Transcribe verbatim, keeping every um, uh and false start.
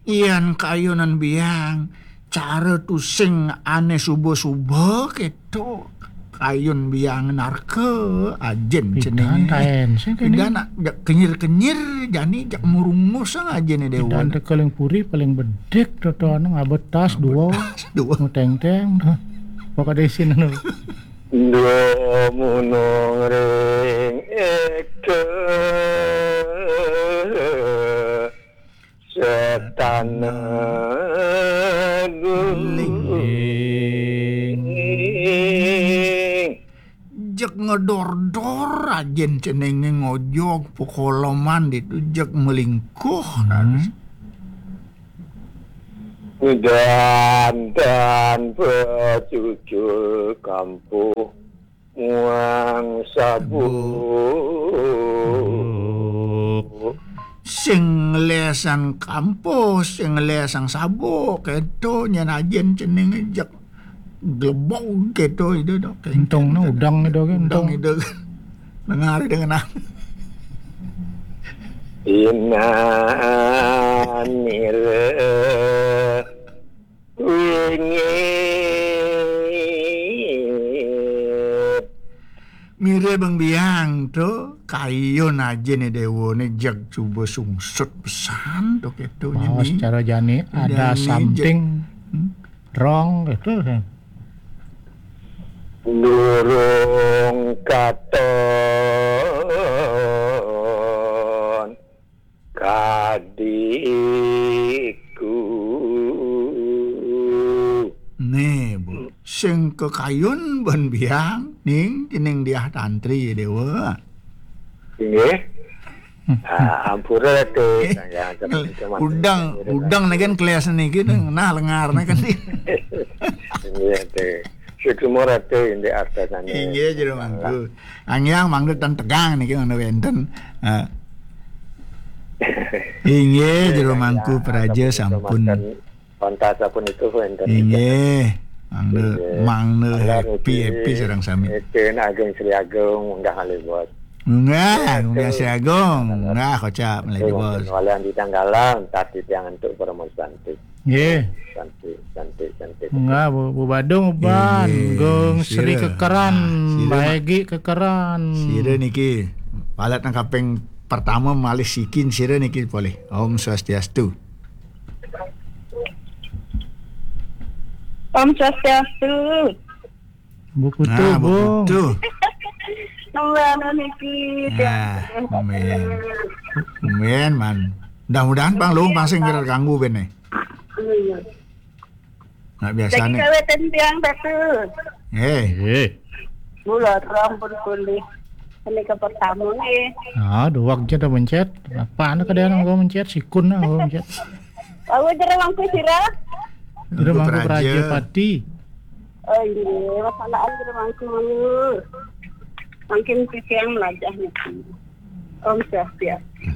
Yan kayunan biang, cara tusing ane suba-suba keto. Kayun biang narka, ajin cening. Pidan taen, sing kene. Pidan nak jak kenyir-kenyir, jani jak murungus sang ajin Dewa. Pidan teka ling puri paling bedik, toto anu ngabetas dua. Ngabetas dua. Muteng-teng, dah. Pokok desin anu. Dua munung ring eka setana guling. Jek ngedor-dor ajin cenenge ngojog pekoloman ditu jek melingkuh. Hmm. Dandan pecucul kampuh muang sabuk. Sing lesan kampuh, sing lesan sabuk, keto nyen ajin cening jek glebog keto itu dok. Entong no udang itu kan, udang entong. Itu kan. Dengar dengan apa? Inan mire wingit. Mire bang biang tu, kayun ajin Dewa ne jeg cuba sungsut pesan tu keto. Mawas jani. Cara jani ada jani something je- Hmm? Wrong gitu. Durung katon kadiku. Nih, Bu. Sing kekayun ban biang, ning, ning diah tantri, Dewa. Inggih. Ah, ampura, Ratu. Udang, udang ne kan kelas niki, nah, lengar ne kan. Inggih, Ratu. Suksma, Ratu, indik arta sane. Inggih, Jero Mangku. Angyang mangda tan tegang niki mangda wenten. Ah. Inggih, Jero Mangku, praja sampun. Pantas sampun itu wenten. Inggih. Mangda, mangda happy, happy sareng sami. Itu nak Agung Sri Agung, munggah malih, Bos. Munggah, munggah Sri Agung. Munggah kocap malih, Bos. Walian di tanggalan, tadi tiang entuk permon santi. Nggih. Santi, santi, santi. Munggah, Bu, Bu Badung, Uban, inggih, Gung Sri sira. Kekeran, ah, sira, Mbak Egi Kekeran. Sira niki, palet nang kaping pertama malih sikin sira niki polih. Om Swastiastu. Om Swastiastu. Buku nah, tuh, Bung. Tuh. Nembana niki. Nah, amin. Amin, man. Mudah-mudahan pang lu pang sing kira ganggu bene. Iya. Nak biasa nih. Lagi kaweten tiang satu. Eh. Eh. Mula terang pun kulih. Ini ke pertama nih. Ah, dua waktu dah mencet. Apa anda kadang nggak mencet? Sikun lah nggak mencet. Aku Jero Mangku sira. Jero Mangku Praja. Praja Pati. Oh iya, masalah Jero Mangku. Mungkin siang melajah nih. Om Swastiastu.